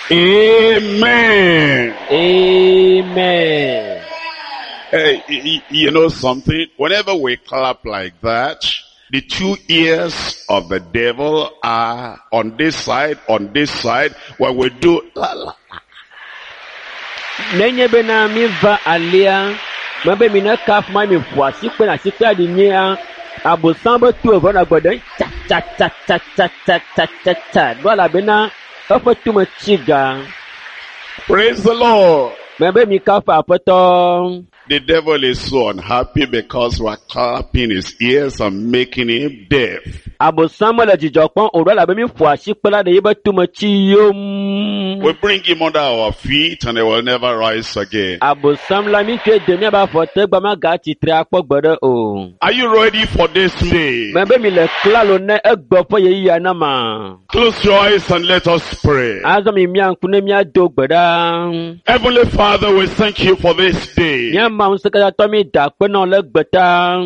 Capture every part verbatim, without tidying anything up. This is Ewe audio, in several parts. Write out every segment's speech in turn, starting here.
Amen. Amen. Hey, y- y- you know something? Whenever we clap like that, the two ears of the devil are on this side, on this side. When we do la, la, Nenye bena mi va alia, mebe mi ne kafu ma mi ƒo asikpe na asikpea ɖi nyia, abosam be to eve nɔ gbe ɖem tsa tsa tsa tsa tsa tsa tsa tsa tsa ɖo elabena eƒe tome tsi ga. Praise the Lord. Mebe mi kafu aƒetɔ. The devil is so unhappy because we are clapping his ears and making him deaf. Abosam mele dzidzɔ kpɔm o ɖo elabe mi ƒo asikpe la ɖe yibe tome tsi yom. We bring him under our feet and he will never rise again. Abosam la mi tsoe de miabe afɔ te gba magatsi tre akpɔ gbe ɖe o. Are you ready for this day? Mebe mi le klalo ne egbe ƒe ɣeyiɣia na ma. Close your eyes and let us pray. Azɔ mi mia ŋku ne míado gbe ɖa. Heavenly Father, we thank you for this day. Mía Mawu ŋusẽkatãtɔ mi da akpe na wò le egbe ta.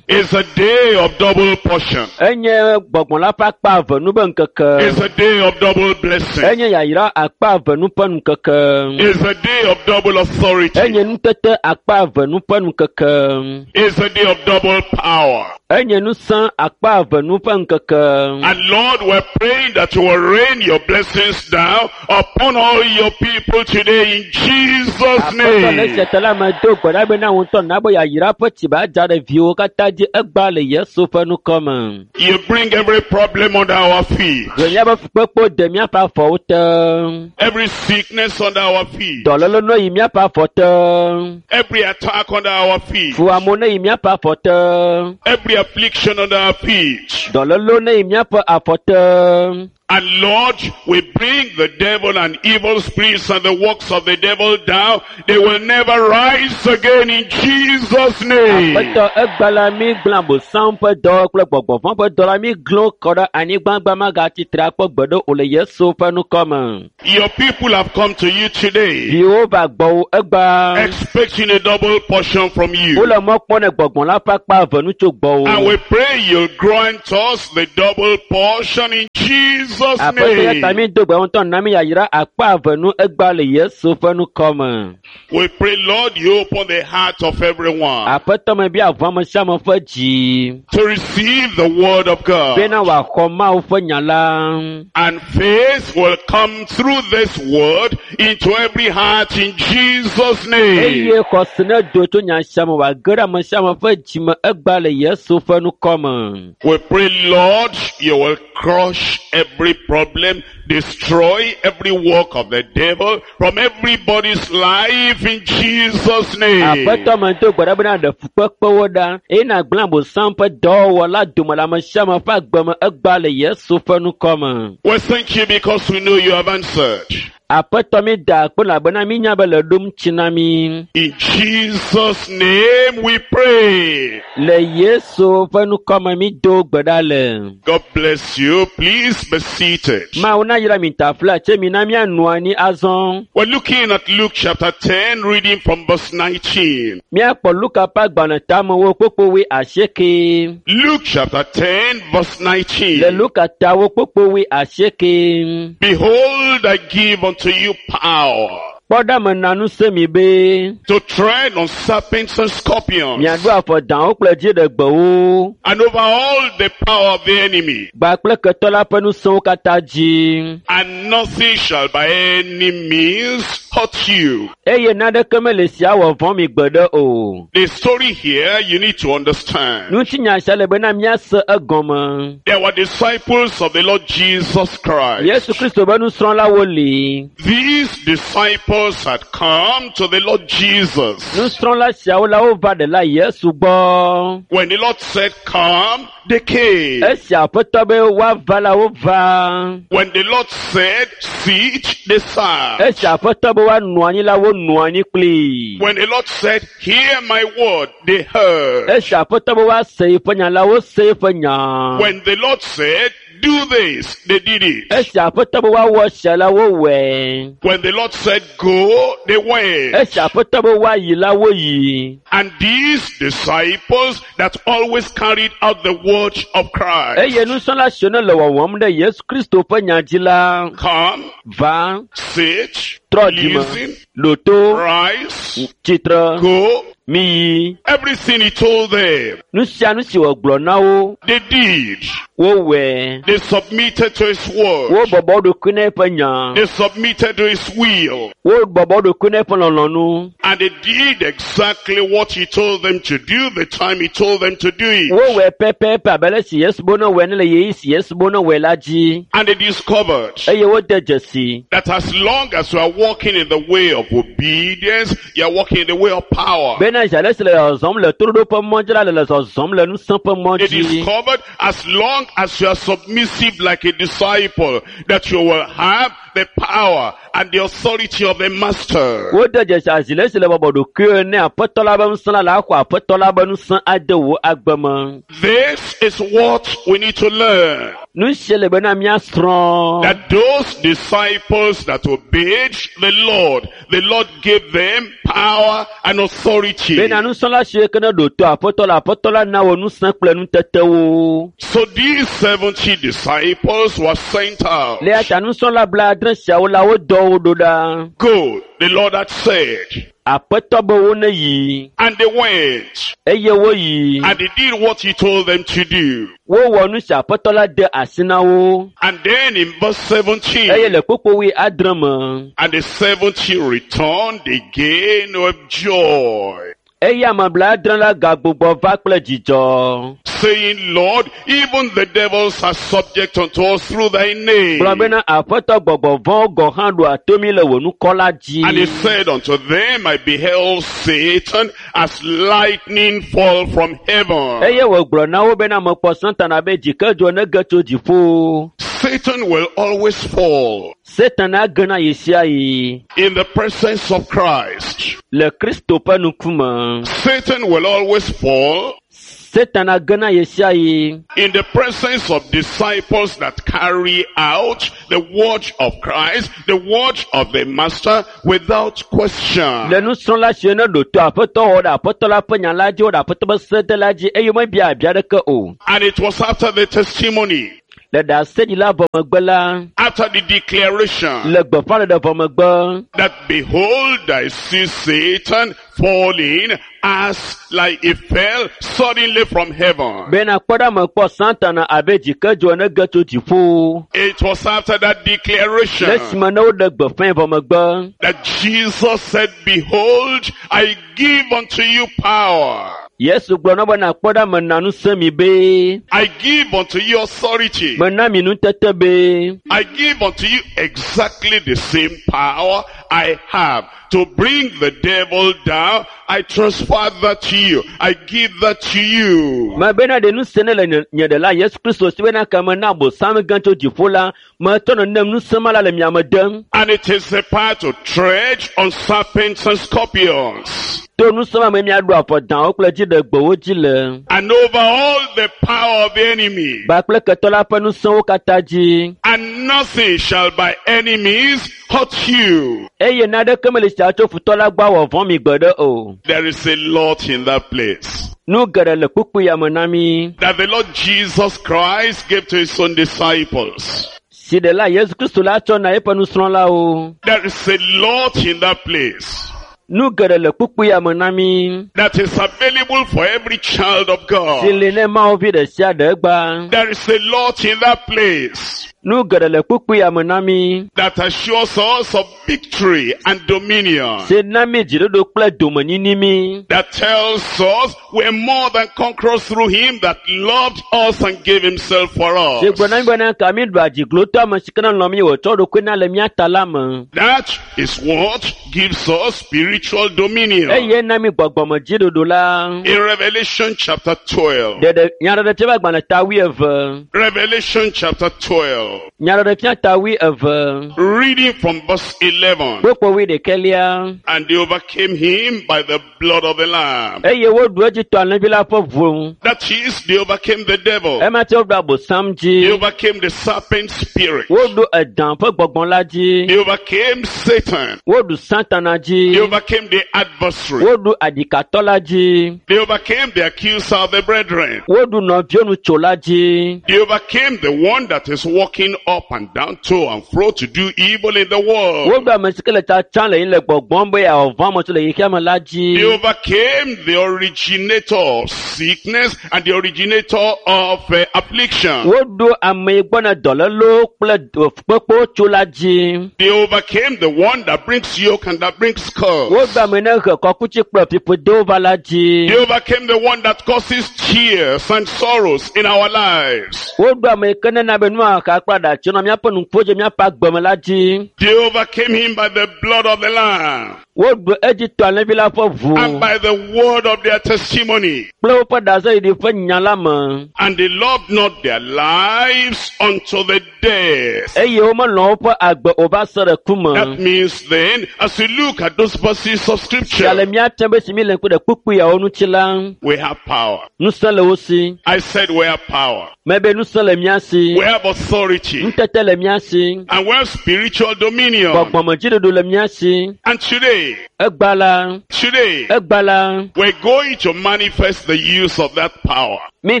It's a day of double portion. Enye gbɔgbɔ la ƒe akpa eve nu be ŋkeke. It's a day of double blessing. Enye yayra akpa eve nu ƒe ŋkeke. It's a day of double authority. Enye nutete akpa eve nu ƒe ŋkeke. It's a day of double power. Enye ŋusẽ akpa eve nu ƒe ŋkeke. And Lord, we're praying that you will rain your blessings down upon all your people today in Jesus' Aƒetɔ le name. esia ta la me do gbe ɖa bena wò ŋutɔ na be yayra ƒe tsi ba dza ɖe viwò katã dzi egbea le Yesu ƒe ŋkɔ me. You bring every problem under our feet. Gblɔ míaƒe fukpekpewo de míaƒe afɔwo te. Every sickness under our feet. Dɔléle ne yi míaƒe afɔ te. Every attack under our feet. Fuamewo ne yi míaƒe afɔ te. Every affliction under our feet. Dɔlélewo ne yi míaƒe afɔ te. And Lord, we bring the devil and evil spirits and the works of the devil down. They will never rise again in Jesus' name. Aƒetɔ egbe la mi gblẽ abosam ƒe dɔ kple gbɔgbɔvɔ̃ ƒe dɔ la mi glẽ wo kɔ ɖe anyigba gba magatsi tre akpɔ gbe ɖe o le Yesu ƒe ŋkɔ me. Your people have come to you today Viwo va gbɔwò egbea. expecting a double portion from you. Wole mɔ kpɔm ne gbɔgbɔ la ƒe akpa eve nu tso gbɔwò. And we pray you'll grant us the double portion in Jesus' Aƒetɔ ya ta name. mi do gbe ŋutɔ na mi yayra akpa eve nu egbea le Yesu ƒe ŋkɔ me. We pray, Lord, you open the heart of everyone Aƒetɔ me bia ʋu ame sia ame ƒe dzi to receive the word of God. bena wòaxɔ Mawu ƒe nya la. And faith will come through this word into every heart in Jesus' name. Eye xɔse ne do tso nya sia me wòage ɖe ame sia ame ƒe dzi me egbea le Yesu ƒe ŋkɔ me. We pray, Lord, you will crush every problem, destroy every work of the devil from everybody's life in Jesus' name. Aƒetɔ me do gbe ɖa bena ɖe fukpekpewo ɖa eye nàgblẽ abosam ƒe dɔwɔwɔ la dome le ame sia ame ƒe agbe me egbea le Yesu ƒe ŋkɔ me. We thank you because we know you have answered. Aƒetɔ mi da akpe elabena mínya be le ɖom tsi na mi. In Jesus' name we pray. Le Yesu ƒe ŋkɔ me mi do gbe ɖa le. God bless you. Please be seated. Mawu na yra mi tafla tse mi na míanɔ anyi azɔ. We're looking at Luke chapter ten, reading from verse nineteen. Míakpɔ Luka ƒe agbalẽ tamewo kpokpowoe asieke. Luke chapter ten, verse Le nineteen. Luka tawo kpokpowoe asieke. Behold, I give unto you power Kpɔ ɖa me na ŋusẽ mi be to tread on serpents and scorpions miaɖo afɔ dawo kple dziɖegbewo and over all the power of the enemy, gba kple ketɔ la ƒe ŋusẽwo katã dzi. and nothing shall by any means hurt you. Eye naneke mele sia wɔ vɔ̃ mi gbeɖe o. The story here you need to understand. Ŋutinya sia le bena míase egɔme. There were disciples of the Lord Jesus Christ. Yesu Kristo be nusrɔ̃lawo li. These disciples had come to the Lord Jesus. Nusrɔ̃la siawo la wova ɖela Yesu gbɔ. When the Lord said, come, they came. Esi aƒetɔ be woava la wova. When the Lord said, sit, they sat. Esi aƒetɔ be woanɔ anyi la wonɔ anyi kplii. When the Lord said, hear my word, they heard. Esi aƒetɔ be woase yeƒe nya la wose yeƒe nya. When the Lord said, do this, they did it. Esi aƒetɔ be woawɔ esia la wowɔe. When the Lord said go, they went. Esi aƒetɔ be woayi la woyi. And these disciples that always carried out the word of Christ, Eye nusrɔ̃la siwo ne le wɔwɔm ɖe Yesu Kristo ƒe nya dzi la come, va sit, trɔ dzime, listen, ɖo to, rise, tsitre, go. miyi. Everything he told them, Nu sia nu si wògblɔ na wo, they did. wowɔe. They submitted to his word. Wobɔbɔ wo ɖokui na eƒe nya. They submitted to his will. Wobɔbɔ wo ɖokui na eƒe lɔlɔ̃nu. And they did exactly what he told them to do the time he told them to do it. Wowɔe pɛpɛpɛ abe ale si Yesu be ne wɔe ne le ɣeyiɣi si Yesu be ne wɔe la dzi. And they discovered Eye wode dzesi that as long as you are walking in the way of obedience, you are walking in the way of power. bena zi ale si le zɔzɔm le toɖoɖo ƒe mɔ dzi la le le zɔzɔm le ŋusẽ ƒe mɔ They dzi. discovered as long as you are submissive like a disciple, that you will have the power and the authority of the master. Wode dzesi azi le si le bɔbɔ ɖokuiwo ne aƒetɔ la be ŋusẽ la le axɔ aƒetɔ la be ŋusẽ ade wò agbe me. This is what we need to learn. Nu sia le bena míasrɔ̃. That those disciples that obeyed the Lord, the Lord gave them power and authority. Bena nusrɔ̃la siwo ke ne ɖo to aƒetɔ la, aƒetɔ la na wo ŋusẽ kple nutetewo. So these seventy disciples were sent out. Le eya ta nusrɔ̃la blaadre siawo la wodɔ wo ɖo ɖa. Go, the Lord had said. Aƒetɔ be wo ne yi And they went. eye woyi. And they did what he told them to do. Wowɔ nu si aƒetɔ la de asi na wo. And then in verse seventeen, Eye le kpukpui adre me, and the seventy returned again with joy, eye ame blaadre la gagbugbɔ va kple dzidzɔ. saying, Lord, even the devils are subject unto us through thy name. Gblɔ bena aƒetɔ gbɔgbɔ vɔ̃wo gɔ̃ hã ɖoa to mí le wò nukɔ la dzi. And he said unto them, I beheld Satan as lightning fall from heaven. Eye wògblɔ na wo bena mekpɔ Satana be dzikedzo ne ge tso dziƒo. Satan will always fall Satana gena ɣe sia ɣi in the presence of Christ. le Kristo ƒe ŋkume. Satan will always fall Satana gena ɣe sia ɣi in the presence of disciples that carry out the word of Christ, the word of the Master without question. le nusrɔ̃la siwo ne ɖo to aƒetɔ wɔ ɖe aƒetɔ la ƒe nya la dzi, wɔ ɖe aƒetɔ ƒe sede la dzi eye womebia abia ɖeke o. And it was after the testimony, Le ɖaseɖila vɔ megbe la, after the declaration le gbeƒãɖeɖe vɔ megbe, that behold, I see Satan falling as like he fell suddenly from heaven. bena kpɔ ɖa mekpɔ Satana abe dzikedzo ene ge tso dziƒo. It was after that declaration Le esime ne woɖe gbeƒãe vɔ megbe, that Jesus said, behold, I give unto you power. Yesu gblɔ na wo bena kpɔ ɖa mena ŋusẽ mi be, I give unto you authority. mena mi nutete be, I give unto you exactly the same power I have to bring the devil down. I transfer that to you. I give that to you. mebena ɖe ŋusẽ ne le nye nye ɖela Yesu Kristo si bena ke mena Abosam gã tso dziƒo la, metɔ nenem ŋusẽ ma la le miame dem. And it is the power to tread on serpents and scorpions To ŋusẽ ma me miaɖu afɔdãwo kple dziɖegbewo dzi le. and over all the power of the enemy. Ba kple ketɔ la ƒe ŋusẽwo katã dzi. And nothing shall by any means hurt you. Eye naneke meli sia tso futɔ la gbɔ awɔ vɔ̃ mi gbeɖe o. There is a lot in that place Nu geɖe le kpukpui ya me na mi. that the Lord Jesus Christ gave to his own disciples. Si ɖela Yesu Kristo la tsɔ na eƒe nusrɔ̃lawo. There is a lot in that place Nu geɖe le kpukpui ya me na mi. that is available for every child of Si God. li ne Mawu vi ɖe sia ɖe gba. There is a lot in that place Nu geɖe le kpukpui ya me na mi. that assures us of victory and dominion. Si na mi dziɖuɖu kple domenyinyi mi. That tells us we're more than conquerors through him that loved us and gave himself for Si gblɔ na mi us. bena ka mi ɖu adziglotɔ ame si ke ne lɔ̃ mi wòtsɔ ɖokui na le mía ta la me. That is what gives us spiritual spiritual dominion. Eye na mi gbɔgbɔmedziɖuɖu la. In Revelation chapter twelve. Ɖeɖe nyaɖeɖefia ƒe agbalẽ ta wuieve. Revelation chapter twelve. Nyaɖeɖefia ta wuieve. Reading from verse eleven. Kpukpui wuiɖekɛlia. And they overcame him by the blood of the Lamb. Eye woɖu edzi to alẽvi la ƒe ʋu. That is, they overcame the devil. Ema tse woɖu abosam They dzi. overcame the serpent spirit. Woɖu edã ƒe gbɔgbɔ la dzi. They overcame Satan. Woɖu Satana They dzi. overcame the adversary. Woɖu aɖikatɔ la dzi. They overcame the accuser of the brethren. Woɖu nɔviwonutsola dzi. They overcame the one that is walking up and down to and fro to do evil in the world. Woɖu ame si ke le tsatsam le yin le gbɔgbɔm be yeawɔ vɔ̃ ame siwo le xexea me la dzi. They overcame the originator of sickness and the originator of uh, affliction. Woɖu ame yi gbɔna dɔlélewo kple kpekpewo tso la dzi. They overcame the one that brings yoke and that brings curse. Woɖu ame yi ne he kɔkuti kple fiƒodewo va la dzi. They overcame the one that causes tears and sorrows in our lives. Woɖu ame yi ke nena be nuxaxa kple aɖatsi nɔ míaƒe nuƒo dzi míaƒe agbe me la dzi. They overcame him by the blood of the Lamb Woɖu edzi to alẽvi la ƒe ʋu and by the word of their testimony. kple woƒe ɖaseɖiɖi ƒe nya la me. And they loved not their lives unto the death. Eye womelɔ̃ woƒe agbe o va se ɖe ku me. That means then, as we look at those verses of Ya scripture, le míate be si mi le ŋku ɖe kpukpui yawo ŋuti la, we have power. ŋusẽ le wo si. I said we have power. Mebe ŋusẽ le mía si. We have authority. Ŋutete le mía si. And we have spiritual dominion. Gbɔgbɔmedziɖuɖu le mía si. And today, Egba la, today, egba la, we're going to manifest the use of that power. mi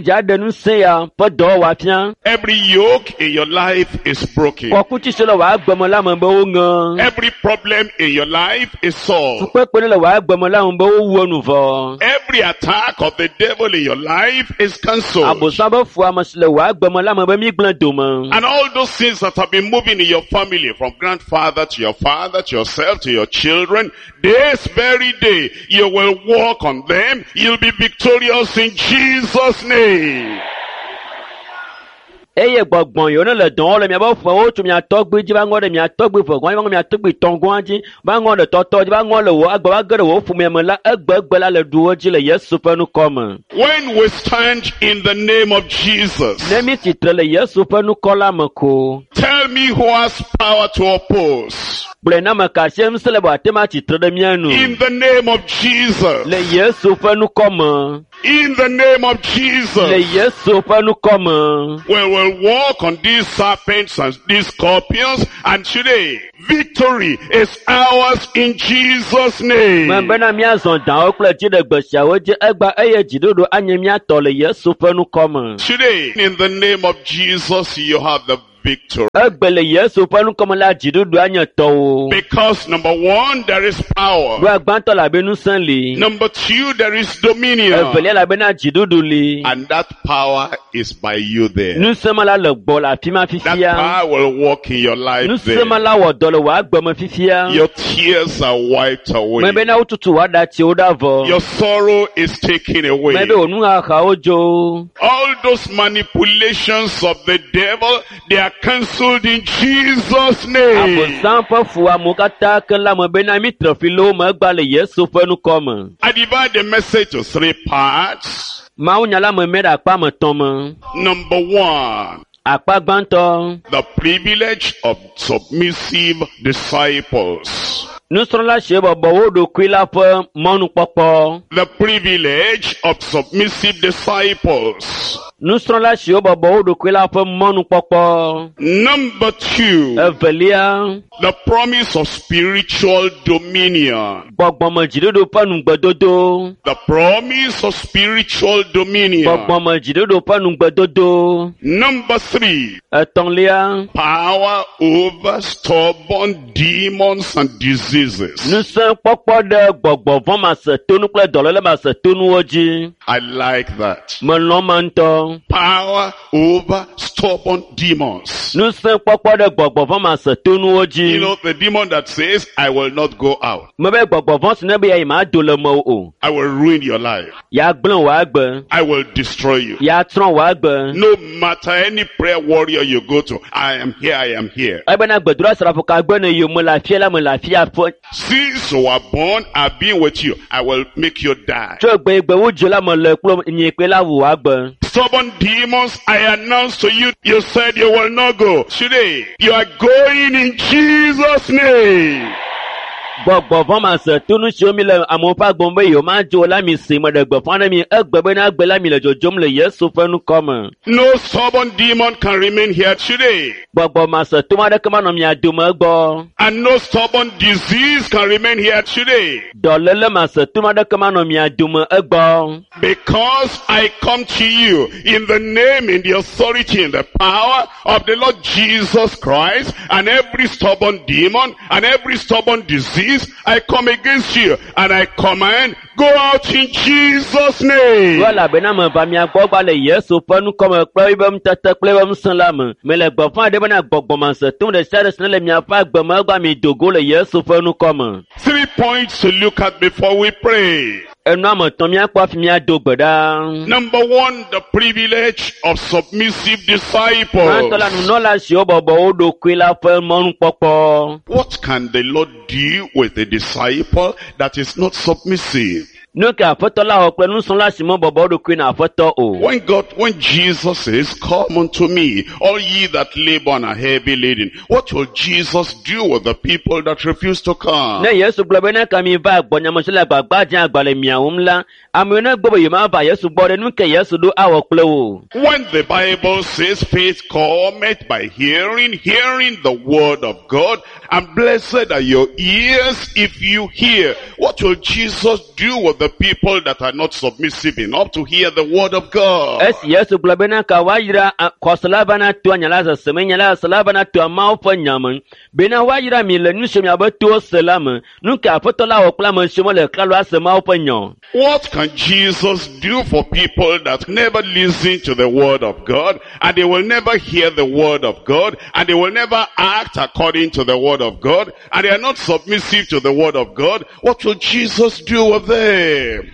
dza ɖe ŋusẽ ya ƒe dɔwɔwɔ afia. Every yoke in your life is broken. Kɔkuti si le wò agbe me la me be woŋe. Every problem in your life is solved. Fukpekpe ne le wò agbe me la me be wowu enu vɔ. Every attack of the devil in your life is cancelled. Abosam be fu ame si le wò agbe me la me be mi gblẽ dome. And all those things that have been moving in your family, from grandfather to your father, to yourself, to your children, this very day, you will walk on them. You'll be victorious in Jesus' name. Eye gbɔgbɔn yiwo ne le dɔn wɔm le miaƒe ƒewo tso mia tɔgbui dzi va ŋɔ ɖe mia tɔgbui ƒe gɔ̃ dzi va ŋɔ mia tɔgbui tɔ̃ gɔ̃a dzi va ŋɔ ɖe tɔtɔ dzi va ŋɔ le wò agbe va ge ɖe wò ƒomea me la egbegbe la le ɖu wo dzi le Yesu ƒe ŋkɔ me. When we stand in the name of Jesus, Ne mi tsitre le Yesu ƒe ŋkɔ la me ko, tell me who has power to oppose. gblɔe na ame ka sie ŋusẽ le be wòate ŋu atsitre ɖe mía nu. In the name of Jesus. Le Yesu ƒe ŋkɔ me. In the name of Le Jesus. Yesu ƒe ŋkɔ me. We will walk on these serpents and these scorpions, and today, victory is ours in Jesus' name. Me bena míazɔ dawo kple dziɖegbe siawo dzi egba eye dziɖuɖu anye mía tɔ le Yesu ƒe ŋkɔ me. Today, in the name of Jesus, you have the victory. Egbe le Yesu ƒe ŋkɔ me la dziɖuɖu anye tɔwò. Because number one, there is power. Ɖoa gbãtɔ le abe ŋusẽ li. Number two, there is dominion. Evelia le abe na dziɖuɖu li. And that power is by you there. Ŋusẽ ma la le gbɔ le afi ma That fifia. power will work in your life Ŋusẽ ma there. la wɔ dɔ le wò agbe me fifia. Your tears are wiped away. Me bena wotutu wò aɖatsiwo ɖa vɔ. Your sorrow is taken away. Me be wò nuxaxawo dzo. All those manipulations of the devil, they are cancelled in Jesus' name. Abosam ƒe fuamewo katã ke la me bena mi tre fli le wo me egba le Yesu ƒe ŋkɔ me. I divide the message to three parts. Mawunya la me mɛ ɖe akpa me tɔ̃ me. Number one, Akpa gbãtɔ, the privilege of submissive disciples. nusrɔ̃la sie bɔbɔ wo ɖokui la ƒe mɔnukpɔkpɔ. The privilege of submissive disciples. Nusrɔ̃la siwo bɔbɔ wo ɖokui la ƒe mɔnukpɔkpɔ. Number two, Evelia, the promise of spiritual dominion. gbɔgbɔmedziɖuɖu ƒe nugbedodo. The promise of spiritual dominion. Gbɔgbɔmedziɖuɖu ƒe nugbedodo. Number three, Etɔ̃lia, power over stubborn demons and diseases. ŋusẽkpɔkpɔ ɖe gbɔgbɔ vɔ̃ masetonu kple dɔléle masetonuwo dzi. I like that. Melɔ̃ ma ŋutɔ. Power over stubborn demons. Ŋusẽkpɔkpɔ ɖe gbɔgbɔ vɔ̃ masetonuwo dzi. You know, the demon that says, I will not go out. Mebe gbɔgbɔ vɔ̃ si ne be yeayi ma do le mewò o. I will ruin your life. Yeagblẽ wò agbe. I will destroy you. Yeatsrɔ̃ wò agbe. No matter any prayer warrior you go to, I am here, I am here. Ebena gbedoɖa srafo ka gbe ne yi me le afia la me le afia ƒe ƒe Since you were born, I've been with you. I will make you die. tso gbe gbe wodzo la me le kple nye kpe la wò agbe. Stubborn demons, I announce to you, you said you will not go. Today, you are going in Jesus' name. Gbɔgbɔ ma se tonu siwo mi le amewo ƒe agbɔm be yewo ma dzo la mi si me ɖe gbeƒã ɖe mi egbe bena egbe la mi le dzodzom le Yesu ƒe ŋkɔ me. No stubborn demon can remain here today. Gbɔgbɔ ma se to aɖeke manɔ mia dome gbɔ. And no stubborn disease can remain here today. Dɔléle ma se to aɖeke manɔ mia dome egbɔ. Because I come to you in the name, in the authority, in the power of the Lord Jesus Christ, and every stubborn demon and every stubborn disease, I come against you and I command, go out in Jesus' name. Ɖo elabena me va mia gbɔ gba le Yesu ƒe ŋkɔ me kple eƒe ŋutete kple eƒe ŋusẽ la me. Mele gbeƒã ɖe bena gbɔgbɔ ma se to ɖe sia ɖe si ne le miaƒe agbe me egbea mi do go le Yesu ƒe ŋkɔ me. Three points to look at before we pray. Enu ame etɔ̃ míakpɔ hafi míado gbe ɖa. Number one, the privilege of submissive disciples. Gbãtɔ la nunɔla siwo bɔbɔ wo ɖokui la ƒe mɔnukpɔkpɔ. What can the Lord do with a disciple that is not submissive? Nu ke aƒetɔ la wɔ kple nusrɔ̃la si mebɔbɔ wo ɖokui na aƒetɔ o. When God, when Jesus says, come unto me, all ye that labor and are heavy laden, what will Jesus do with the people that refuse to come? Ne Yesu gblɔ be ne ka mi va gbɔnyamesi le agbagba dze agba le mia wum la, amewo ne gbɔ be yewomava Yesu gbɔ ɖe nu ke Yesu ɖo awɔ kple wo. When the Bible says faith cometh by hearing, hearing the word of God, and blessed are your ears if you hear. What will Jesus do with the people that are not submissive enough to hear the word of God? Esi Yesu gblɔ bena ka woayra a- xɔse va na toa nya la sese me, nya la sese la va na toa Mawu ƒe nya me. Bena woayra mi le nu si miabe towo se la me. Nu ke aƒetɔ la wɔ kple ame siwo mele klalo ase Mawu ƒe nya o. What can Jesus do for people that never listen to the word of God, and they will never hear the word of God, and they will never act according to the word of God, and they are not submissive to the word of God? What will Jesus do with them?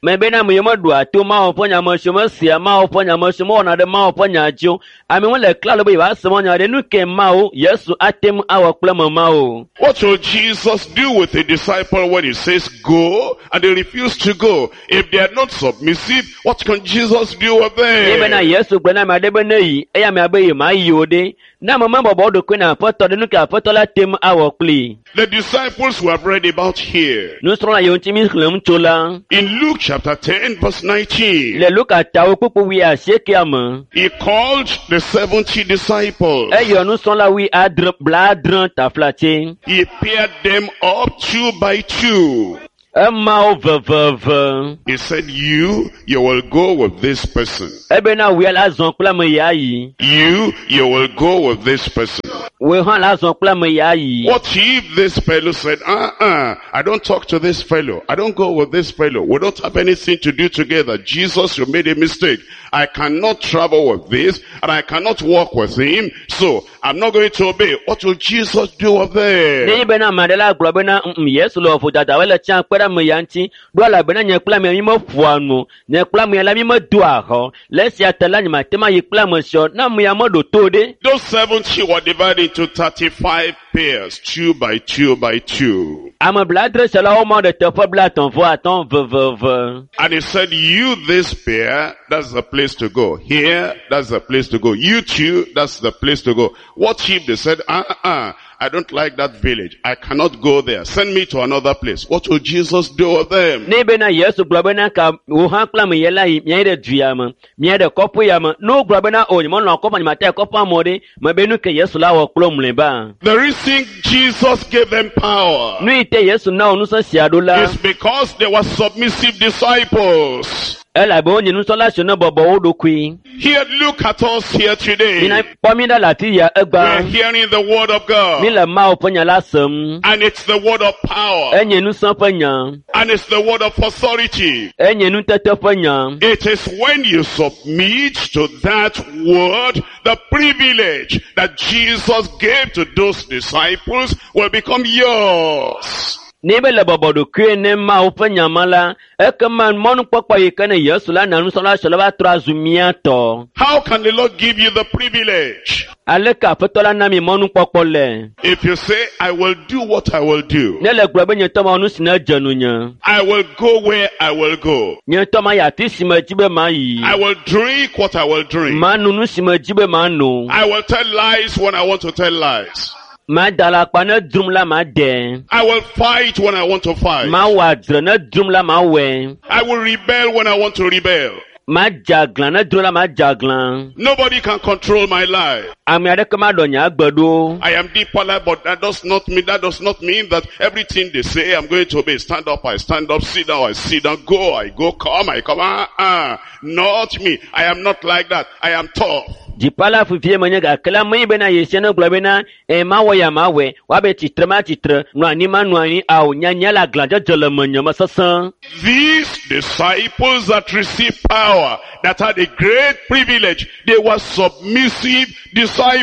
Me bena ame yiwo meɖoa to Mawu ƒe nya me siwo mesea Mawu ƒe nya me siwo mewɔna ɖe Mawu ƒe nya dzi o. Amewo le klalo be yewoase Mawu nya ɖe nu ke Mawu Yesu ate ŋu awɔ kple ame mawo. What will Jesus do with a disciple when he says go and they refuse to go? If they are not submissive, what can Jesus do with Ye bena them? Yesu gblɔ na ame aɖe be ne yi eye amea be yemayi o ɖe. Ne ame mebɔbɔ wo ɖokui na aƒetɔ ɖe nu ke aƒetɔ la te ŋu awɔ kplii. The disciples we have read about here Nusrɔ̃la yiwo ŋuti mi xlẽm tso la. in Luke chapter ten verse nineteen, Le Luka tawo kpukpu wui asiekea me. he called the seventy disciples. Eyɔ nusrɔ̃la wui adre blaadre taflatse. He paired them up two by two. Ema wo veveve. He said, you, you will go with this person. Ebena wòe la zɔ kple ame ya yi. You, you will go with this person. Wòe hã la zɔ kple ame ya yi. What if this fellow said, uh-uh, I don't talk to this fellow. I don't go with this fellow. We don't have anything to do together. Jesus, you made a mistake. I cannot travel with this and I cannot walk with him. So I'm not going to obey. What will Jesus do with them? Ne bena ame aɖe la gblɔ bena mm Yesu le vodada wole tsã kpe ɖe ame ya ŋuti. Ɖo elabena nye kple ame ya mi meƒoa nu. Nye kple ame ya la mi medoa xɔ. Le esia ta la nye mate ma yi kple ame sia. Ne ame ya meɖo to ɖe. Those seventy were divided into thirty-five pairs, two by two by two. Ame blaadre sia la womɔ ɖe teƒe blaetɔ̃ vɔ atɔ̃ veveve. And he said, you this pair, that's the place to go. Here, that's the place to go. You two, that's the place to go. What if they said, uh-uh, I don't like that village. I cannot go there. Send me to another place. What will Jesus do with them? Ne bena Yesu gblɔ bena ka wò hã kple ame ya la yi miayi ɖe du ya me, miayi ɖe kɔƒe ya me. Ne wogblɔ bena o nye melɔ̃ kɔƒe, nye mate yi kɔƒea me o ɖe, mebe nu ke Yesu la wɔ kple wo mlɔeba. The reason Jesus gave them power Nu yi te Yesu na wo ŋusẽ sia ɖo la, is because they were submissive disciples. elabe wonye nusrɔ̃la siwo ne bɔbɔ wo ɖokui. Here, look at us here today. Mina kpɔ mi ɖa le afi ya We're egbea. hearing the word of God. Mi le Mawu ƒe nya la sem. And it's the word of power. Enye ŋusẽ ƒe nya. And it's the word of authority. Enye nutete ƒe nya. It is when you submit to that word, the privilege that Jesus gave to those disciples will become yours. Ne be le bɔbɔ ɖokui ne Mawu ƒe nyama la, ekema mɔnukpɔkpɔ yi ke ne Yesu la na nusrɔ̃la siawo la va trɔ azu mía tɔ. How can the Lord give you the privilege? Aleke Aƒetɔ la na mi mɔnukpɔkpɔ le? If you say, I will do what I will do, Ne le gblɔ be nye ŋutɔ mawɔ nu si ne dze nunye. I will go where I will go, Nye ŋutɔ mayi afi si medzi be mayi. I will drink what I will drink, Manu nu si medzi be mano. I will tell lies when I want to tell lies, Mada alakpa ne drum la made. I will fight when I want to fight, Mawɔ adzre ne drum la mawɔe. I will rebel when I want to rebel. Madze aglã ne drum la madze aglã. Nobody can control my life. Ame aɖeke maɖɔ nye agbe ɖo. I am deeper life, but that does not mean that does not mean that everything they say I'm going to obey. Stand up, I stand up, sit down, I sit down, go, I go, come, I come. Ah, ah. Not me. I am not like that. I am tough. Dziƒo la fifie menye gake la menye bena Yesu ne gblɔ bena e mawɔ ya mawɔe woabe tsitre ma tsitre nɔ anyi ma nɔ anyi awo nyanya le aglãdzedze le menye me sesẽ. These disciples that received power, that had a great privilege, they were submissive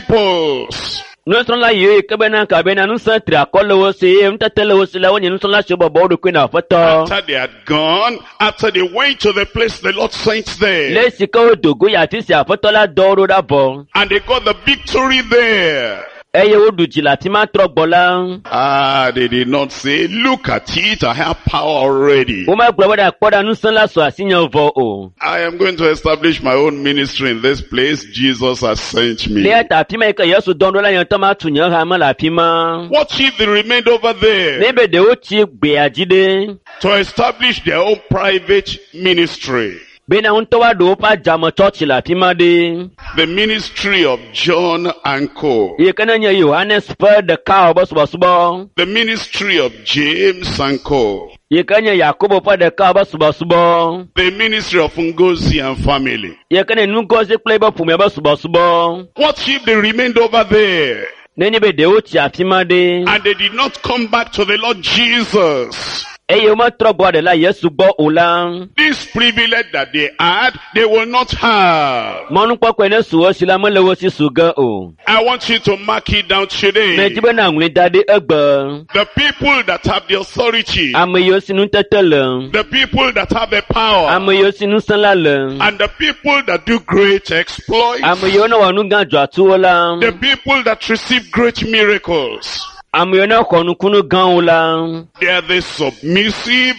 disciples. Nusrɔ̃la yiwo yi ke bena ka bena ŋusẽ tri akɔ le wo si eye nutete le wo si la wonye nusrɔ̃la siwo bɔbɔ wo ɖokui na Aƒetɔ. After they had gone, after they went to the place the Lord sent them, Le esi ke wodo go yi afi si Aƒetɔ la dɔ wo ɖo ɖa vɔ and they got the victory there. eye woɖu dzi le afi ma trɔ gbɔ la, Ah, they did not say, look at it, I have power already. womegblɔ be ɖe kpɔ ɖa ŋusẽ la su asinye vɔ o. I am going to establish my own ministry in this place. Jesus has sent me. Le eya ta afi ma yi ke Yesu dɔm ɖo la nye ŋutɔ matu nye hame le afi ma. What if they remained over there Ne be ɖewo tsi gbea dzi ɖe. to establish their own private ministry? Bena ŋutɔ woaɖo woƒe adzame tsɔtsi le afi ma ɖe. The ministry of John and Co. Yi ke ne nye Yohanes ƒe ɖeka wɔ be subɔsubɔ. The ministry of James and Co. Yi ke nye Yakobo ƒe ɖeka wɔ be subɔsubɔ. The ministry of Ngozi and family. Yi ke ne Ngozi kple eƒe ƒomea be subɔsubɔ. What if they remained over there Ne nye be ɖewo tsi afi ma ɖe. and they did not come back to the Lord Jesus? Eye wometrɔ gbɔ ɖe la Yesu gbɔ o la. This privilege that they had, they will not have. Mɔnukpɔkpɔe ne su wo si la mele wo si su ge o. I want you to mark it down today. Medzi be na ŋlɔe da ɖi egbe. The people that have the authority, Ame yiwo si nutete le. the people that have the power, Ame yiwo si ŋusẽ la le. and the people that do great exploits, Ame yiwo ne wɔ nu gã dzɔatsuwo la. the people that receive great miracles, Ame yiwo ne xɔ nukunu gãwo la. they are the submissive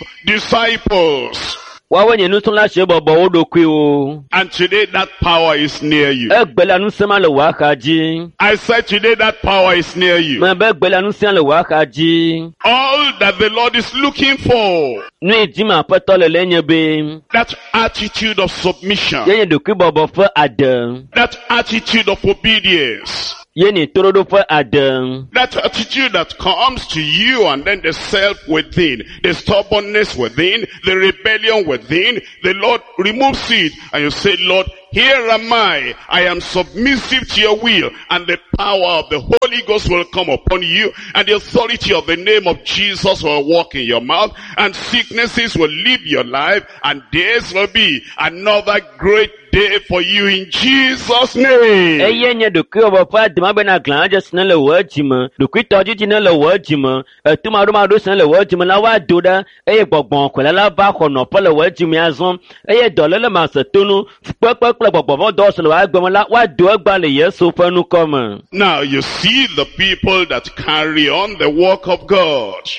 disciples. Woawoe nye nusrɔ̃la siwo bɔbɔ wo ɖokuiwo. And today that power is near you. Egbe la ŋusẽ ma le wò axa dzi. I said today that power is near you. Mebe egbe la ŋusẽ le wò axa dzi. All that the Lord is looking for, Nu yi dim Aƒetɔ le le nye be, that attitude of submission, ye nye ɖokuibɔbɔ ƒe ade. that attitude of obedience, Ye nye toɖoɖo ƒe ade. that attitude that comes to you and then the self within, the stubbornness within, the rebellion within, the Lord removes it and you say, Lord, here am I. I am submissive to your will, and the power of the Holy Ghost will come upon you, and the authority of the name of Jesus will walk in your mouth, and sicknesses will leave your life, and this will be another great day for you in Jesus' name. Eye nye ɖokuibɔbɔ ƒe ade ma bena glãdze si ne le wò dzime, ɖokuitɔdzidzi ne le wò dzime, etumaɖomaɖo si ne le wò dzime la woado ɖa eye gbɔgbɔ kɔla la va xɔ nɔƒe le wò dzime azɔ eye dɔléle masetonu, fukpekpe kple gbɔgbɔvɔdɔwɔwɔ si le wò agbe me la woado egba le Yesu ƒe ŋkɔ me. Now you see the people that carry on the work of God.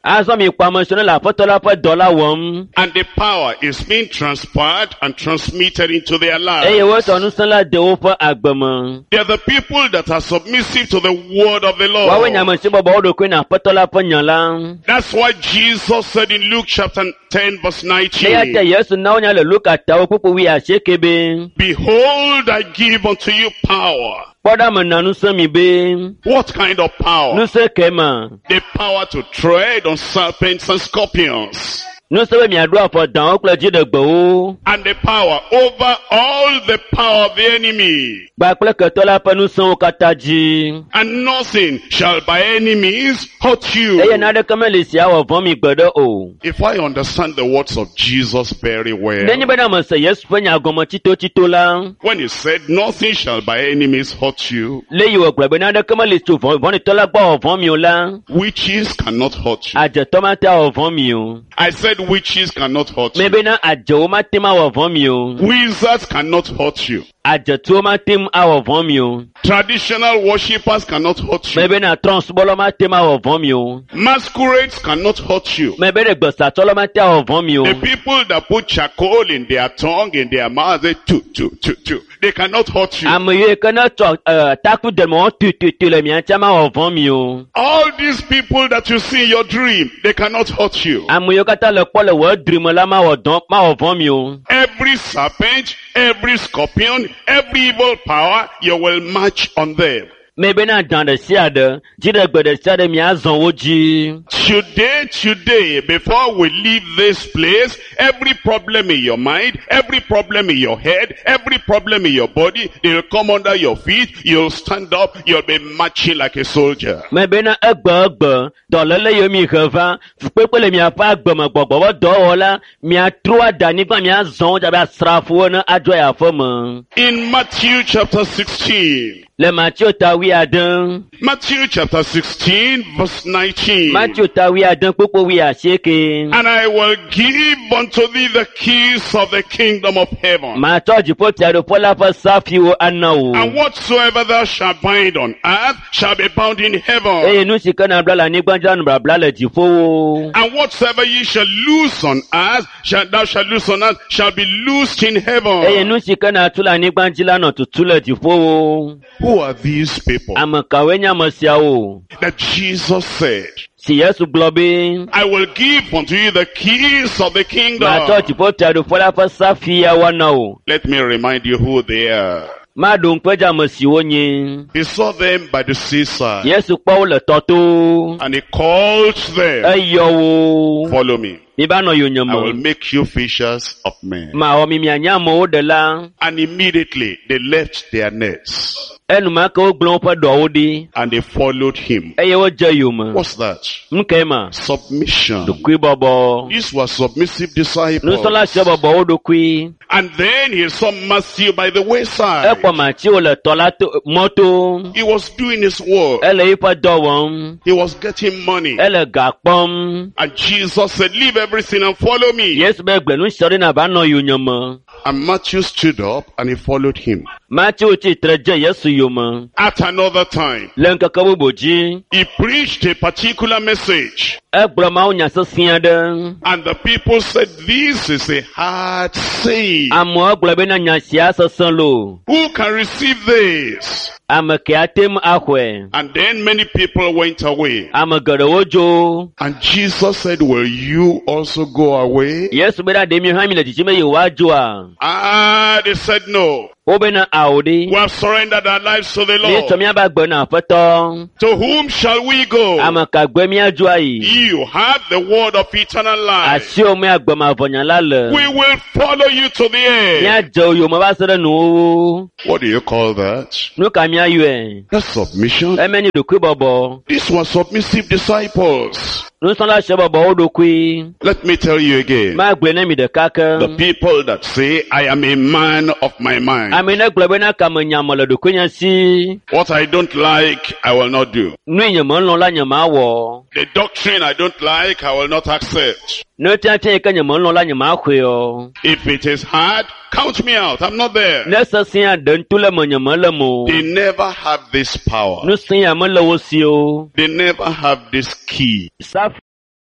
Azɔ mi kpɔ ame siwo ne le Aƒetɔ la ƒe dɔ la wɔm And the power is being transferred and transmitted into their eye lives. wotsɔ ŋusẽ la de woƒe agbe me. They are the people that are submissive to the word of the Woawoe nye Lord. ame siwo bɔbɔ wo ɖokui na Aƒetɔ la ƒe nya la. That's why Jesus said in Luke chapter ten verse Eya ta nineteen, Yesu na wonya le Luka tawo kpukpu wuiasieke be, Behold, I give unto you power. kpɔ ɖa mena ŋusẽ mi be, What kind of power? ŋusẽ ke ma? The power to tread on serpents and scorpions. Ŋusẽ be miaɖo afɔ dãwo kple dziɖegbewo. And the power over all the power of the enemy. Kpakple ketɔ la ƒe ŋusẽwo katã dzi. And nothing shall by any means hurt you. Eye naneke meli si awɔ vɔ̃ mi gbeɖe o. If I understand the words of Jesus very well, Nenye bena mese Yesu ƒe nya gɔme tsitotsito la, when he said nothing shall by any means hurt you, le yi wògblɔ be naneke meli tso vɔ̃ vɔ̃ɖitɔ la gbɔ awɔ vɔ̃ mi o la, witches cannot hurt you. adzetɔ mate awɔ vɔ̃ mi o. I said witches cannot hurt you. Mebena adzewo mate ŋu awɔ vɔ̃ mi o. Wizards cannot hurt you. Adzetuwo mate ŋu awɔ vɔ̃ mi o. Traditional worshippers cannot hurt you. Mebena trɔ̃subɔlawo mate ŋu awɔ vɔ̃ mi o. Masquerades cannot hurt you. Mebe ɖe gbesatɔlawo mate awɔ vɔ̃ mi o. The people that put charcoal in their tongue, in their mouth, they two, two, two, two. They cannot hurt you. Ame yiwo ke ne tsɔ eh, taku deme wɔm tututu le mia ŋutia mawɔ vɔ̃ mi o. All these people that you see in your dream, they cannot hurt you. Ame yiwo katã le kpɔ le wò dri me la mawɔ dɔn mawɔ vɔ̃ mi o. Every serpent, every scorpion, every evil power, you will march on them. Mebena dã ɖe sia ɖe, dziɖegbe ɖe sia ɖe miazɔ wo dzi. Today, today, before we leave this place, every problem in your mind, every problem in your head, every problem in your body, they'll come under your feet, you'll stand up, you'll be marching like a soldier. Mebena egbe egbe, dɔléle yiwo mi he va, fukpekpe le miaƒe agbeme gbɔgbɔ be dɔwɔla, miatrɔ ada anyigba miazɔ wo dzi abe asrafowo ene adzo yi aƒeme. In Matthew chapter sixteen, Le Mateo ta wuiade, Matthew chapter sixteen, verse nineteen. Mateo ta wuiade kpukpu wuiasieke. And I will give unto thee the keys of the kingdom of heaven. Matsɔ dziƒofiaɖuƒe la ƒe safiwo ana wò. And whatsoever thou shalt bind on earth shall be bound in heaven. Eye nu si ke nabla le anyigba dzi la nu babla le dziƒowo. And whatsoever ye shall loose on earth, shall, thou shalt loose on earth, shall be loosed in Eye heaven. nu si ke natu le anyigba dzi la nɔ tutu le dziƒowo. Who are these people Ame kawoe nye ame siawo? that Jesus said, Si Yesu gblɔ be, I will give unto you the keys of the kingdom. matsɔ dziƒofiaɖuƒe la ƒe safiawo ana wò. Let me remind you who they are. Maɖo ŋku edzi ame siwo nye. He saw them by the seaside Yesu kpɔ wo le tɔ to. and he called them, Eyɔ wo. follow me. Miva nɔ I will yonyeme. make you fishers of men. Mawɔ mi mianye amewo ɖela. And immediately they left their nets Enumake wogblẽ woƒe ɖɔwo ɖi and they followed him. eye wodze yome. What's that? Nu kae ma? Submission. Ɖokuibɔbɔ. These were submissive disciples. Nusrɔ̃la sia bɔbɔ wo ɖokui. And then he saw Matthew by the wayside. Ekpɔ Mateo le tɔ la to mɔto. He was doing his work. Ele eƒe dɔ wɔm. He was getting money. Ele ga kpɔm. And Jesus said, leave everything and follow me. Yesu be gbe nu sia ɖi nava nɔ yonyeme. And Matthew stood up and he followed him. Mateo tsitre dze Yesu yome. At another time, Le ŋkeke bubu dzi, he preached a particular message. egblɔ mawunya sesẽ aɖe. And the people said, this is a hard saying. Amewo gblɔ bena nya sia sesẽ loo. Who can receive this? Ame ke ate ŋu axɔe. And then many people went away. Ame geɖewo dzo. And Jesus said, will you also go away? Yesu bena ɖe mi hã mi le dzidzim be yewoadzoa? Ah, they said no. Wobena ao ɖi. We have surrendered our lives to the Míetsɔ Lord. míaƒe agbe na Aƒetɔ. To whom shall we go? Ame ka gbe míadzo ayi? You have the word of eternal life. Asiwò me agbe mavɔ la le. We will follow you to the end. Míadze wo yome va se ɖe nuwuwu. What do you call that? Nu ka míayɔe? That's submission. Eme nye ɖokuibɔbɔ. These were submissive disciples. Nusrɔ̃la sia bɔbɔ wo ɖokui. Let me tell you again. Magblɔe na mi ɖeka The ke. people that say, I am a man of my mind. Ame ne gblɔ bena kame nyame le ɖokuinye si. What I don't like, I will not do. Nu yi nye melɔ̃ la nye mawɔ. The doctrine I don't like, I will not accept. Nu tiatia yi ke nye melɔ̃ la nye maxɔe o. If it is hard, count me out. I'm not there. Ne sesẽa ɖe ŋutu le menye mele me o. They never have this power. Nusẽ ya mele wo si o. They never have this key. Safi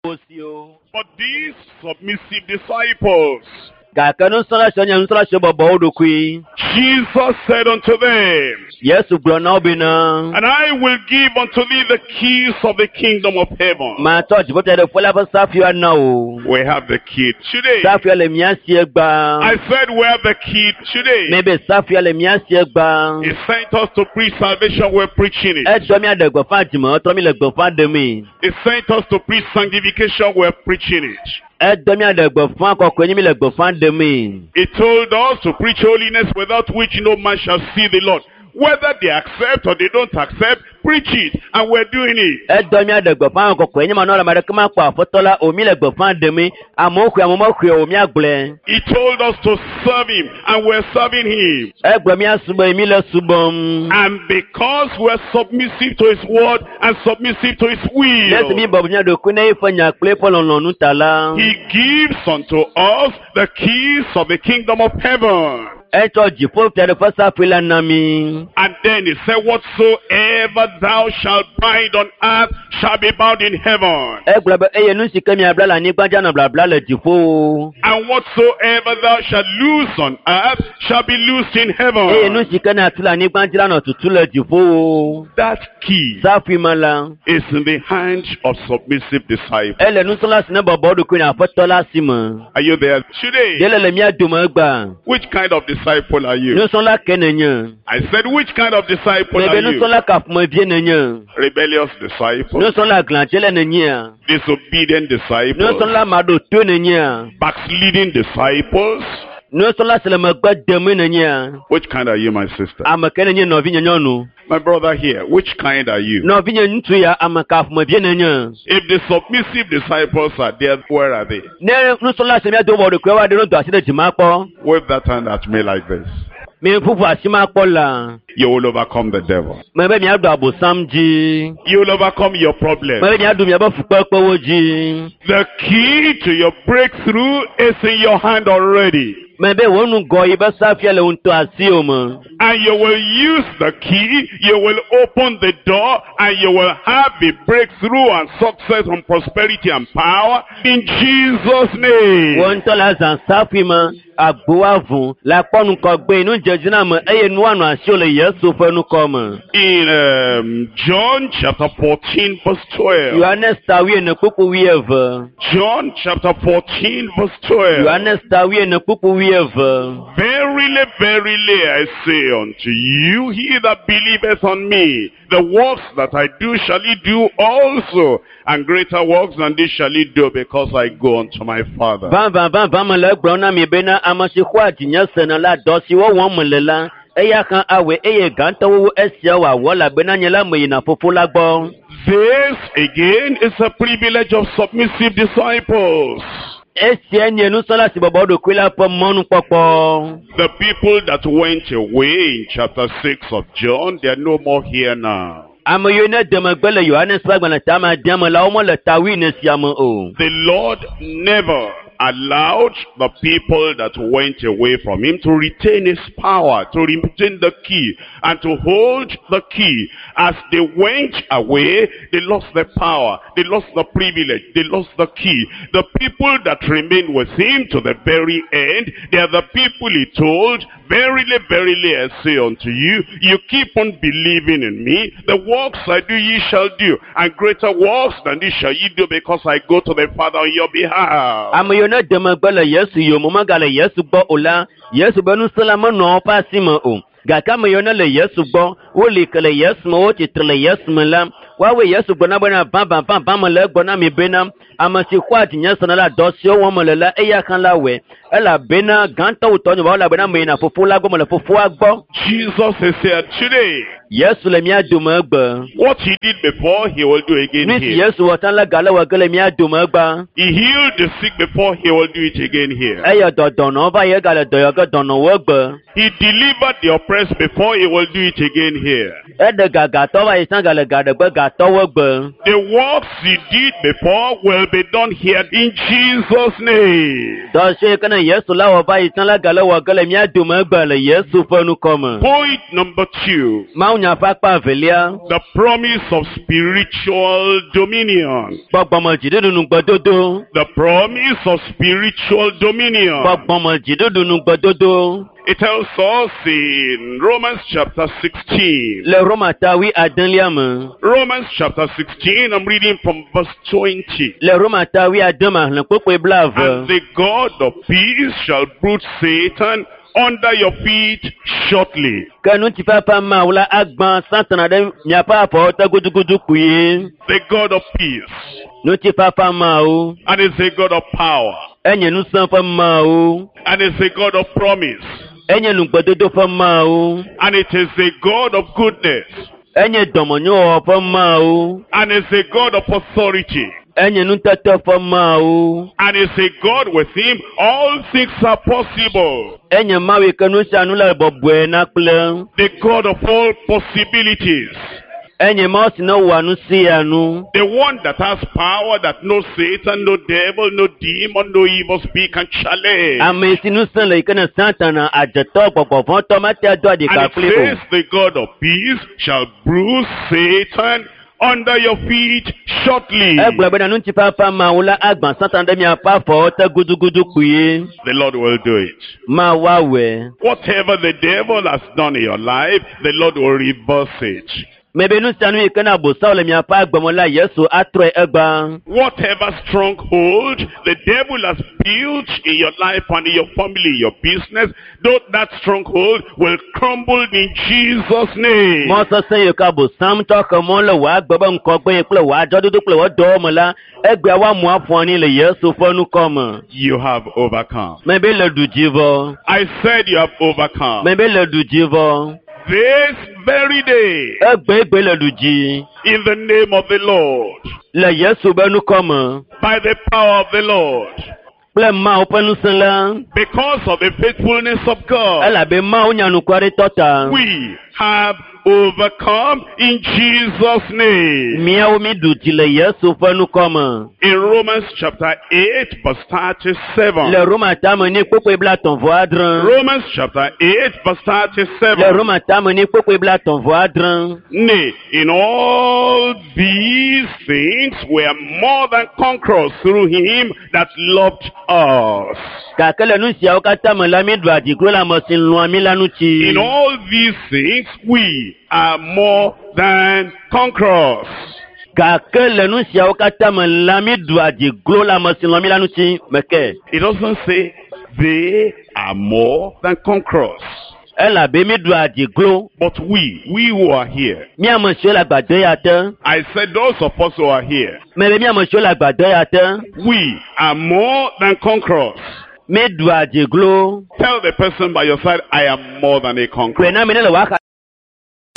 wo si o. But these submissive disciples, Gake nusrɔ̃la sia nye nusrɔ̃la siwo bɔbɔ wo ɖokui. Jesus said unto them, Yesu gblɔ na wo bena, And I will give unto thee the keys of the kingdom of heaven. matsɔ dziƒofiaɖuƒe la ƒe safiwo ana wò. We have the key today. Safia le mía si egbea. I said we have the key today. Mebe safia le mía si egbea. He sent us to preach salvation, we're preaching it. Etsɔ mía ɖe gbeƒã dzimetɔ mi le gbeƒã ɖemee. He sent us to preach sanctification, we're preaching it. Edɔ mía ɖe gbeƒã kɔkɔe nye mi le gbeƒã ɖemee. He told us to preach holiness without which no man shall see the Lord. Whether they accept or they don't accept, preach it, and we're doing it. Edɔ mía ɖe gbeƒã kɔkɔe nye manɔ le ame aɖeke makpɔ aƒetɔ la o mi le gbeƒã ɖemee. Amewo xɔe amewo mexɔe o míagblɔe. He told us to serve him, and we're serving him. Egblɔ mía subɔ mi le subɔm. And because we're submissive to his word and submissive to his Le esi mi will, bɔbɔ mía ɖokui ne eƒe nya kple eƒe lɔlɔ̃nu ta la, he gives unto us the keys of the kingdom of heaven. etsɔ dziƒo fiaɖuƒe safui la na mi. And then he said, Whatsoever thou shalt bind on earth shall be bound in heaven. Egblɔ be eye nu si ke miabla le anyigba dzi anɔ blabla le dziƒo. And whatsoever thou shalt loose on earth shall be loosed in Eye nu heaven. si ke nàtu le anyigba dzi la nɔ tutu le dziƒo. That key Safui me la, is in the hand of submissive disciples. ele nusrɔ̃la si ne bɔbɔ eɖokui na aƒetɔ la si me. Are you there today? Ye le le mía dome egbea. Which kind of disciple are you? Nusrɔ̃la ke nenye. I said, which kind of disciple Mebe are you? nusrɔ̃la ka ƒomevie nenye. Rebellious disciple, Nusrɔ̃la glãdzele nenyea. disobedient disciples, Nusrɔ̃la maɖotoe nenyea. backsliding disciples. Nusrɔ̃la si le megbe demee nenyea. Which kind are you, my sister? Ame ke nenye nɔvinye nyɔnu. My brother here, which kind are you? Nɔvinye ŋutsu ya ame ka ƒomevie nenye. If the submissive disciples are there, where are they? Ne nusrɔ̃la si míado bɔ ɖokui wa ɖe no do asi ɖe dzi makpɔ. Wave that hand at me like this. Mi ƒuƒu asi makpɔ la. You will overcome the devil. Mebe miaɖu abosam dzi. You will overcome your problem. Mebe miaɖu miaƒe fukpekpewo dzi. The key to your breakthrough is in your hand already. Mebe wò ŋgɔ yi be safia le ŋutɔ asiwò me. And you will use the key, you will open the door, and you will have a breakthrough and success and prosperity and power in Jesus' Wò name. ŋutɔ le azã safui me, agbo avu, le akpɔ ŋgɔgbe, nudzedziname eye nua nɔ asiwò le Yesu ƒe ŋkɔ me. In um, John chapter fourteen verse twelve. Yohanes ta wuiene kpukpu wuieve. John chapter fourteen verse twelve. Yohanes ta wuiene kpukpu wuieve. Verily, verily, I say unto you, he that believeth on me, the works that I do shall he do also, and greater works than this shall he do, because I go unto my Father. Vavã vavã mele egblɔm na mi bena ame si xɔa dzinye sena la dɔ si wɔwɔm mele la, eya hã awɔe eye gãtɔwo wu esia wòawɔ elabena nye la meyina fofo la gbɔ. This again is a privilege of submissive disciples. Esia nye nusrɔ̃la si bɔbɔ eɖokui la ƒe mɔnukpɔkpɔ. The people that went away in chapter six of John, they are no more here now. Ame yiwo ne de megbe le Yohanes ƒe agbalẽ tame adea me la, womele ta wuiene sia me o. The Lord never allowed the people that went away from him to retain his power, to retain the key, and to hold the key. As they went away, they lost the power, they lost the privilege, they lost the key. The people that remained with him to the very end, they are the people he told, Verily, verily, I say unto you, you keep on believing in me, the works I do ye shall do, and greater works than this shall ye do, because I go to the Father on your behalf. Ame yiwo ne de megbe le Yesu yome megale Yesu gbɔ o la, Yesu be ŋusẽ la menɔ woƒe asi me o. Gake ame yiwo ne le Yesu gbɔ, woli ke le Yesu me, wotsitre le Yesu me la, woawoe Yesu gblɔ na bena vavã vavã mele egblɔ na mi bena ame si xɔa dzinye sena la dɔ siwo wɔm mele la, eya hã la wɔe. Elabena gãtɔ wu tɔnye wɔwɔ elabena meyina fofo la gbɔ mele fofoa gbɔ. Jesus is here today. Yesu le mía dome egbe. What he did before, he will do again Nu si here. Yesu wɔ tsã la gale wɔ ge le mía dome egbea. He healed the sick before, he will do it again here. Eyɔ dɔ dɔnɔwo va yi egale dɔ yɔ ge dɔnɔwo egbe. He delivered the oppressed before, he will do it again here. Eɖe gagatɔ va yi tsã gale ga ɖe gbe gatɔwo egbe. The works he did before will be done here in Jesus' name. Dɔ si ke ne Yesu la wɔ va yi tsã la gale wɔ ge le mía dome egbe le Yesu ƒe ŋkɔ me. Point number two, Mawunya ƒe akpa evelia, the promise of spiritual dominion. gbɔgbɔme dziɖuɖu nugbedodo. The promise of spiritual dominion. Gbɔgbɔme dziɖuɖu nugbedodo. It tells us in Romans chapter sixteen. Le Roma ta wui adelia me. Romans chapter sixteen, I'm reading from verse twenty. Le Roma ta wui ade me xlẽ kpukpui And blaeve. the God of peace shall bruise Satan under your feet shortly. Ke ŋutifafa Mawu la agbã Satana ɖe miaƒe afɔwo te gudugudu kpuie. The God of peace. Ŋutifafa Mawu. And is a God of power. Enye ŋusẽ ƒe Mawu. And is a God of promise. Enye nugbedodo ƒe Mawu. And it is a God of goodness. Enye dɔmenyowɔwɔ ƒe Mawu. And is a God of authority. Enye nutete ƒe Mawu. And is a God with him all things are possible. Enye Mawu yi ke nu sia nu le bɔbɔe na kple. The God of all possibilities. Enye Mawu si ne wɔa nu sia nu. The one that has power that no Satan, no devil, no demon, no evil speak can challenge. Ame si ŋusẽ le yi ke ne Satana adzetɔ gbɔgbɔvɔ̃tɔ mate ado And aɖika it kpli o. says the God of peace shall bruise Satan under your feet shortly. Egblɔ bena ŋutifafa Mawu la agbã Satana ɖe miaƒe afɔwo te gudugudu kpuie. The Lord will do it. Mawu awɔe. Whatever the devil has done in your life, the Lord will reverse it. Mebe nu sia nu yi ke na Abosam le miaƒe agbe me la, Yesu atrɔe egbã. Whatever stronghold the devil has built in your life and in your family, your business, though that stronghold will crumble in Jesus' name. Mɔ sesẽ yi ke Abosam tsɔ xe mɔ le wò agbe be ŋkɔgbe yi kple wò adzɔdodo kple wò dɔwɔ me la, egbea woamu aƒu anyi le Yesu ƒe ŋkɔ me. You have overcome. Mebe le ɖu dzi vɔ. I said you have overcome. Mebe le ɖu dzi vɔ. This very day, Egbegbe le ɖu dzi. in the name of the Lord, Le Yesu be ŋkɔ me. by the power of the Lord, Kple Mawu ƒe ŋusẽ la. because of the faithfulness of God, Elabe Mawu nya nukwaretɔ ta. we have overcome in Jesus' name. Míawo mi ɖu dzi le Yesu ƒe ŋkɔ me. In Romans chapter eight, verse thirty-seven. Le Roma tame ni kpokpoe blatɔ̃ vɔ adre. Romans chapter eight, verse Le thirty-seven. Roma tame ni kpokpoe blatɔ̃ vɔ adre. Nay, in all these things we are more than conquerors through him that loved us. Gake le nu siawo katã me la, mi ɖu adiglo le ame si lɔ̃a mi la ŋuti. In all these things we are more than conquerors. Gake le nu siawo katã me la, mi ɖu adiglo le ame si lɔ̃a mi la ŋuti. Meke. It doesn't say they are more than conquerors. Elabe mi ɖu adiglo. But we, we who are here, Mi ame siwo le agbadɔ ya te. I said those of us who are here, Mebe mi ame siwo le agbadɔ ya te. we are more than conquerors. Mi ɖu adiglo. Tell the person by your side, I am more than a conqueror. Gblɔe na ame ne le wò axa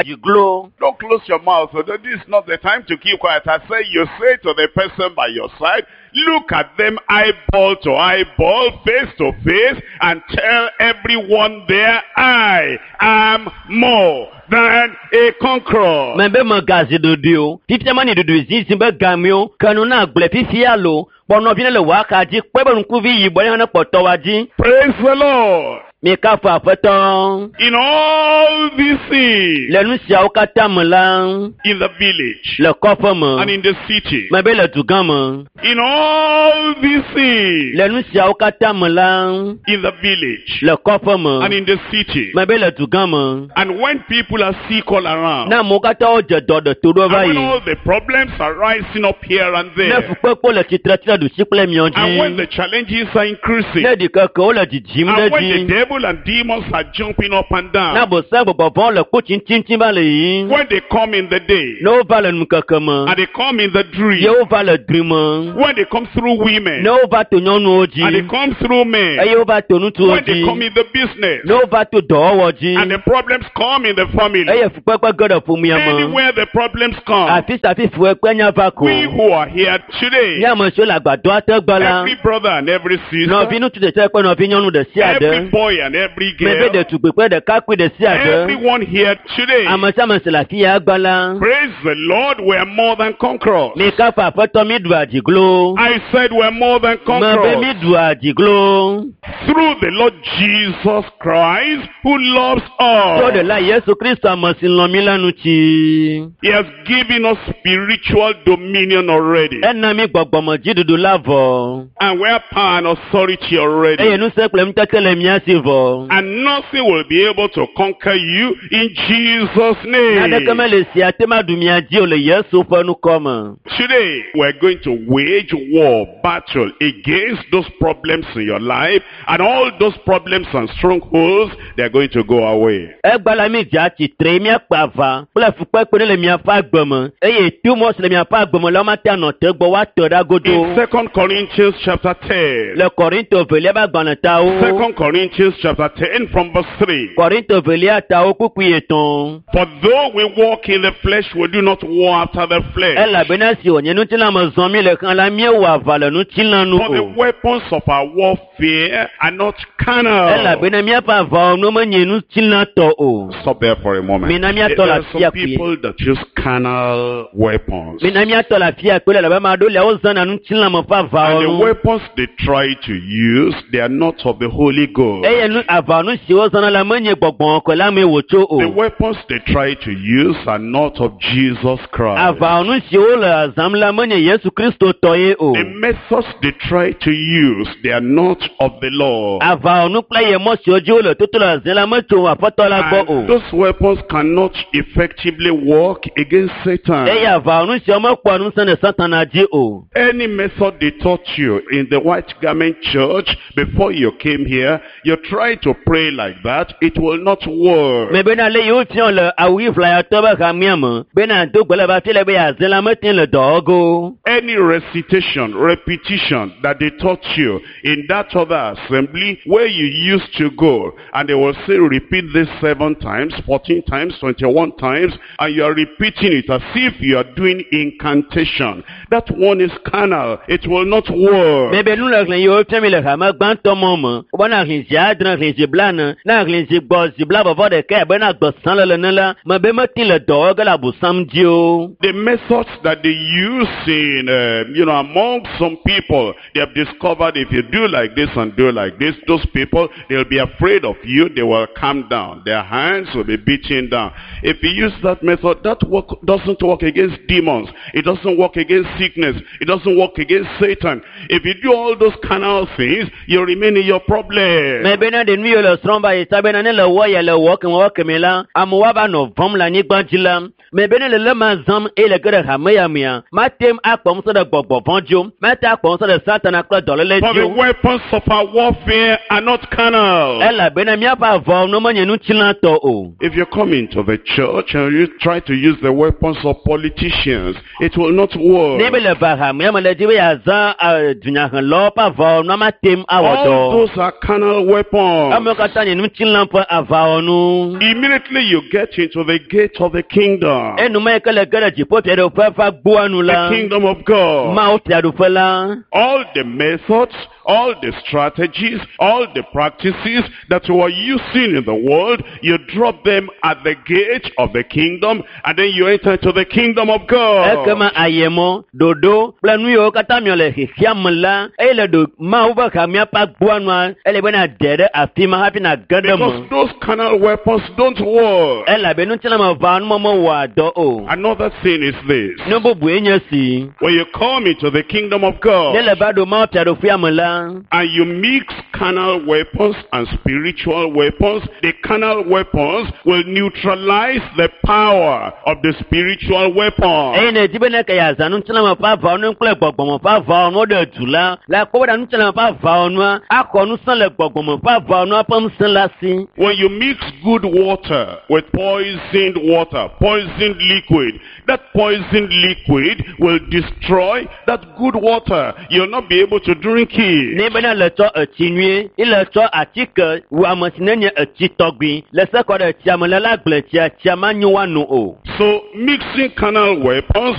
adiglo. Don't close your mouth. So this is not the time to keep quiet. I say you say to the person by your side, look at them eyeball to eyeball, face to face, and tell everyone there, I am more than a conqueror. Mebe megazi ɖoɖoe o. Fifia mani ɖoɖoe zizi be game o. Ke nu na gblɔe fifia lo. Kpɔ nɔvi ne le wò axa dzi. Kpɔe be ŋkuvi yibɔ ne hã ne kpɔtɔ wa dzi. Praise the Lord. Mi kafu Aƒetɔ. In all these things, Le nu siawo katã me la, in the village le kɔƒe me, and in the city, mebe le dugã me. in all these things, Le nu siawo katã me la, in the village le kɔƒe me, and in the city. mebe le dugã me. And when people are sick all around, Ne amewo katã wodze dɔ ɖe to ɖo va and when yi. all the problems are rising up here and Ne there, fukpekpe le tsitre tsi ɖe ɖusi kple miɔ and when dzi. the challenges are increasing, Ne ɖikekewo le dzidzim ɖe and when the dzi. devil and demons are jumping up and Ne down, abosam gbɔgbɔvɔ̃wo le kpo tsiŋtsiŋtsiŋ va le yiyim. when they come in the day, Ne wova le nukeke me. and they come in the dream, Ye wova le dri me. when they come through women, Ne wova to nyɔnuwo and they dzi. come through men, Eye wova to ŋutsuwo when they come dzi. in the business, Ne wova to dɔwɔwɔ dzi. and the problems come in the family, Eye fukpekpe ge ɖe ƒomea me. anywhere the problems come, Afi sia afi fukpekpe nya va ko. we who are here today, Nye ame siwo le agbadɔa te gbe la, every brother and every sister, nɔvi ŋutsu ɖe sia ɖe kple nɔvi nyɔnu ɖe sia every ɖe, boy and every mebe girl, ɖetugbui kple ɖekakpui ɖe sia ɖe, everyone here today, ame sia ame si le afi ya gbe la, praise the Lord, we are more than conquerors. mi kafu Aƒetɔ mi ɖu adziglo. I said we are more than Mebe mi conquerors ɖu adziglo. through the Lord Jesus Christ who loves To us. ɖela Yesu Kristo ame si lɔ̃ mi la ŋuti. He has given us spiritual dominion already. Ena mi gbɔgbɔmedziɖuɖu la vɔ. And we have power and authority already. Eye ŋusẽ kple ŋutete le mía si vɔ. vɔ. And nothing will be able to conquer you in Jesus' Naneke name. mele si ate ma ɖu mia dzi o le Yesu ƒe ŋkɔ me. Today, we're going to wage war, battle against those problems in your life, and all those problems and strongholds, they're going to go away. Egba la mi dza tsitre míakpe aʋa kple fukpekpe ɖe le miaƒe agbe me eye to mɔ si le miaƒe agbe me la womate anɔ te gbɔ woate ɖa godo. In Second Corinthians chapter ten, Le Kɔrinto velia ƒe agbalẽ tawo. Second Corinthians chapter ten from verse three. Kɔrinto velia tawo kpukpui etɔ̃. For though we walk in the flesh, we do not war after the flesh. Elabena si wònye ŋutilã me zɔm mi le xlã la míewɔ aʋa le ŋutilã nu For the o. weapons of our warfare are not carnal. Elabena míaƒe aʋawɔnuwo menye ŋutilã tɔ o. Stop there for a moment. Mina There míatɔ le are afia some kpuie. people that use carnal weapons. Mina míatɔ le afia kpuie elabe ame aɖewo lia wozãna ŋutilã me ƒe And the aʋawɔnu. weapons they try to use, they are not of the Holy Ghost. Eye nu aʋawɔnu si wozãna la menye gbɔgbɔ kɔkɔe la mee wòtso o. The weapons they try to use are not of Jesus Christ. Aʋawɔnu siwo le zãm la menye Yesu Kristo tɔ ye o. The methods they try to use, they are not of the Lord. Aʋawɔnu kple ayemɔ siwo dzi wole toto le zãm la metso Aƒetɔ la gbɔ o. And those weapons cannot effectively work against Satan. Eye aʋawɔnu siwo mekpɔa ŋusẽ ɖe Satana dzi o. Any method they taught you in the white garment church before you came here, you try to pray like that, it will not work. Me bena ale yiwo fiɔ le awu ɣi ʋlayatɔ be hamea me bena do gbe le va fi le be yeazẽ la mete le dɔ wɔge o. Any recitation, repetition that they taught you in that other assembly where you used to go, and they will say repeat this seven times, fourteen times, twenty-one times, and you are repeating it as if you are doing incantation. That one is carnal. It will not work. Me be nu le xlẽ yiwo fia mi le hame gbãtɔ mɔ me wobena xlẽ zi adre xlẽ zi blaene ne xlẽ zi gbɔ zi blavɔvɔ ɖeka abe na gbesã le ene la me be mete le dɔ wɔge le abosam dzi o. The methods that they use in, uh, you know, among some people, they have discovered if you do like this and do like this, those people, they'll be afraid of you, they will calm down. Their hands will be beaten down. If you use that method, that work doesn't work against demons. It doesn't work against sickness. It doesn't work against Satan. If you do all those carnal things, you remain in your problem. Me bena ɖe nu yiwo le srɔ̃m va yi ta bena ne le wɔ ya le wɔ keme wɔ keme la amewo ava nɔ vɔm le anyigba dzi la me be ne le le ma zãm eye le ge ɖe hame ya mea mate ŋu akpɔ ŋusẽ ɖe gbɔgbɔ vɔ̃ dzi o mate akpɔ ŋusẽ ɖe satana kple dɔléle For dzi the o weapons of our warfare are not carnal. elabena míaƒe aʋawɔnuwo menye ŋutilãtɔ o. If you come into the church and you try to use the weapons of politicians, it will not work. Ne be le va hamea me le dzi be yeazã eh, dunyahelɔwo ƒe aʋawɔnua mate ŋu awɔ All dɔ. those are carnal weapons. Amewo katã nye ŋutilã ƒe aʋawɔnu. Immediately you get into the gate of the kingdom, Enuma yi ke le ge ɖe dziƒo fiaɖuƒe ƒe agboa nu the la, kingdom of God. Mawu fiaɖuƒe la, All the methods, all the strategies, all the practices that you are using in the world, you drop them at the gate of the kingdom, and then you enter into the kingdom of God. ekema ayemɔ, ɖoɖo kple nu yiwo katã miɔ le xexea me la, eye le ɖo Mawu ƒe hamea ƒe agboa nua, ele be na de ɖe afi ma hafi na ge ɖe Because me. those carnal weapons don't work. Elabe ŋutilãmeʋawɔnu mewɔa dɔ o. Another thing is this. Nu bubue nye si, When you come into the kingdom of God ne le va ɖo Mawu fiaɖuƒea me la, and you mix carnal weapons and spiritual weapons, the carnal weapons will neutralize the power of the spiritual weapon. eye ne di be ne ke yeazã ŋutilãme ƒe aʋawɔnu kple gbɔgbɔme ƒe aʋawɔnuwo ɖe du la, le akpɔ be ŋutilãme ƒe aʋawɔnua axɔ ŋusẽ le gbɔgbɔme ƒe aʋawɔnua ƒe ŋusẽ la si. When you mix good water with poisoned water, poisoned liquid, that poisoned liquid will destroy that good water. You'll not be able to drink it. Ne bena le tsɔ etsi nyuie, ye le tsɔ atike wu ame si nenye etsi tɔgbi le se kɔ ɖe tsia me le la gblẽ tsia, tsia manyo woano o. So mixing carnal weapons